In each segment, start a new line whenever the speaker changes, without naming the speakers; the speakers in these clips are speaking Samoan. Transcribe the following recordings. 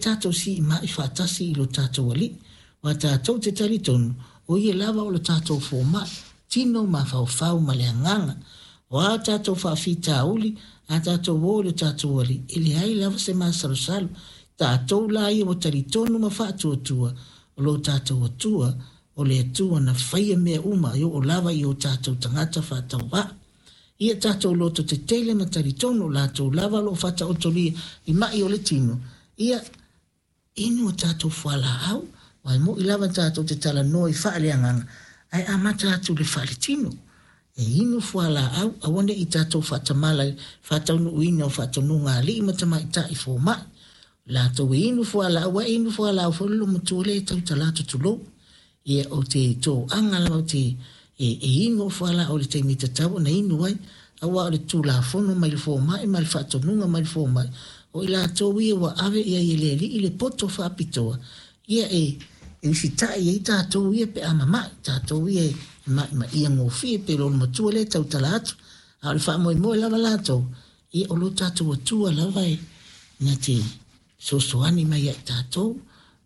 tatou siima'i faatasi i lo tatou Alii, aua tatou te talitonu o Ia lava o lo tatou Foma'i, tino, mafaufau ma le agaga. O a tatou faafitauli, a tatou o i lo tatou Alii, e leai lava se masalosalo. Tatou la ia ua talitonu ma faatuatua, o lo tatou Atua, o le Atua na faia mea uma e oo lava i o tatou tagata faatauvaa. Ia tatou loto tetele ma talitonu o latou lava o lo o faataotolia i ma'i o le tino, ia inu a tatou fualaau, aua e mo'i lava tatou te talanoa i faaleagaga, ae amata atu i le faaletino. E inu fualaau, aua ne i tatou faatamala i le faataunuuina o faatonuga a alii ma tamaitai fomai. O latou e inu fualaau, aua e inu fualaau foi le loomatua lea e tautala atu, tulou. Ia, ou te toaga lava, ou te e, e inu au fualaau i le taimi e tatau ona inu ai, aua o le tulafono mai le fomai ma le faatonuga mai le fomai, o i latou ia ua ave i ai e le Alii le poto faapitoa, ia e e usitai ai tatou ia pe a mama'i, tatou ia e ma'imaʻia gofie pei o le olomatua lea e tautala atu. A o le faamoemoe lava latou, ia o lo tatou Atua lava e na te fesoasoani mai ia i tatou.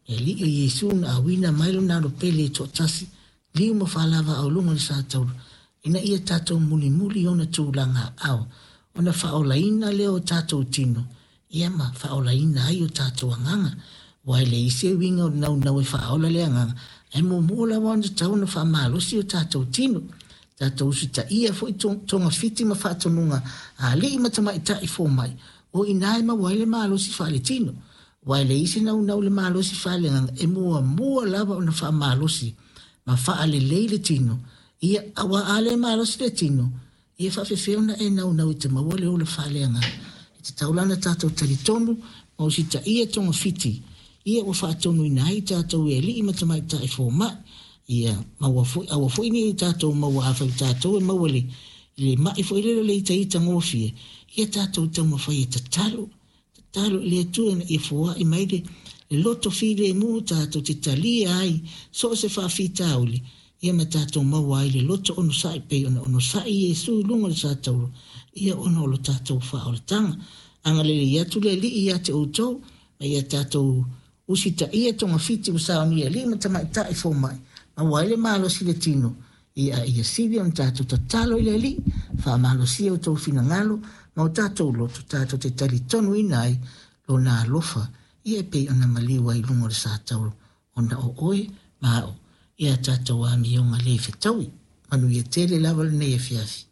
Le Alii o Iesu na auina mai lona alo pele e toatasi, liu ma faalava i luga o le satauro, ina ia tatou mulimuli i ona tulaga aao, ona faaolaina lea o tatou tino, ia ma faaolaina ai o tatou agaga. Aua e leai se uiga o le naunau e faaola le agaga, ae muamua lava ona tatau ona faamalosi o tatou tino. Tatou usitaia foi togafiti ma faatonuga a alii ma tamaitai fomai, o i ina e maua ai le malosi faaletino. Aua e leai se naunau i le malosi faaleagaga, e muamua lava ona faamalosi ma faalelei le tino, ia, aua a le malosi le tino, ia e faafefea ona e naunau e te maua le ola faaleagaga. E tatau la ona tatou talitonu ma usitaia togafiti ia ua faatonuina ai tatou e alii ma tamaitai fomai. Ia maua foi, aua foi ne i tatou maua, afai o tatou e maua i le ma'i foi lele o le itaita gofie, ia tatou taumafai e tatalo, tatalo i le Atua ina ia foai mai le loto filemu tatou te talia ai so o se faafitauli, ia ma tatou maua ai le loto onosai pei ona onosai Iesu i luga o le satauro, ia ona o lo tatou faaolataga. Agalelei atu le Alii ia te outou, ma ia tatou usitaia togafiti ua saunia e alii ma tamaitai fomai, maua ai le malosi i le tino, ia ia sili ona tatou tatalo i le Alii, faamalosia outou finagalo ma o tatou loto, tatou te talitonuina ai Lona alofa, ia e pei ona maliu ai i luga o le satauro, ona o oe ma a'u i a tatou amioga le fetaui. Manuia tele lava lenei afiafi.